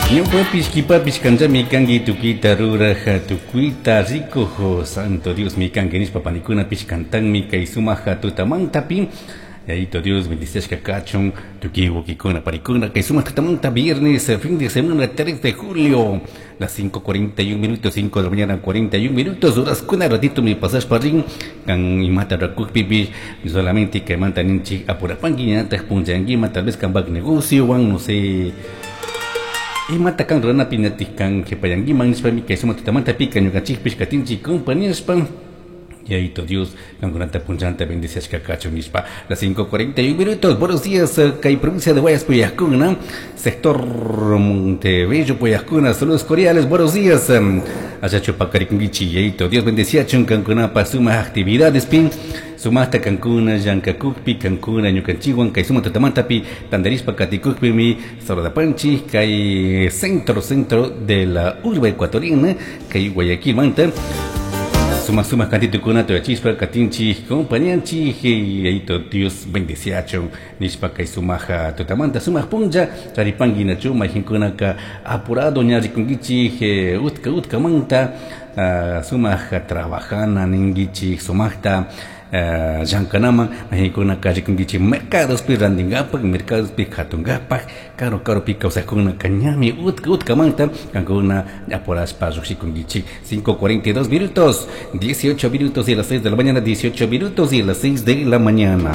Ñawpapish kipapish kanllami kanki tukuyta ruraj tukuyta rikuj Santo Diosmi kanki nishpa panikunapish cantanmi kay sumaja tutamantapi. Yayito Dios bendiciashka kachun tukuy wawkikuna panikuna kay sumaq tutamanta viernes fin de semana 3 de julio las 5:41 minutos, 5 de la mañana 41 minutos, horaskuna ratito mi pasashpa rin kan imata rakukpipish solamente kaymanta ninchik apurapanki ñataj punchankiman tal vez kanpak negociowan no sé imata kan ruranapi ñatik kan qhipayankiman nishpami kay sumaq tutamanta pika ñukanchikpish katinchik compañashpa. Yayito Dios, kankunata punchanta bendiciashka kachun nishpa. Las 5:41 minutos, buenos días, kay provincia de Guayas Puyajkuna, sector Montebello Puyajkuna, saludos cordiales, buenos días. Achachu pakarikunkichi, Yayito Dios bendiciachun kankunapa sumaq actividades pin, sumaqta kankuna llankakukpi, kankuna ñukanchikwan kay sumaq tutamantapi tantarishpa katikukpimi saludapanchik kay centro, centro de la urbe ecuatoriana, kay Guayaquilmanta. Sumaq sumaq kantitukunata tuyachispa katinchik compañanchik Yayito Dios bendiciachun nishpa kay sumaq tutamanta sumaq punlla charipanki nachu mayqinkunaka apurado ña rikunkichik utka utkamanta sumaq trabajana ninkichik sumaqta llankanaman mayqinkunaka rikunkichik mercadospi rantinkapak mercadospi katunkapak karu karupi kawsaqkunaka ñami utka utkamanta kankuna apurashpa lluqshikunkichik. 5:42 minutos, 18 minutos y las 6 de la mañana, 18 minutos y las 6 de la mañana.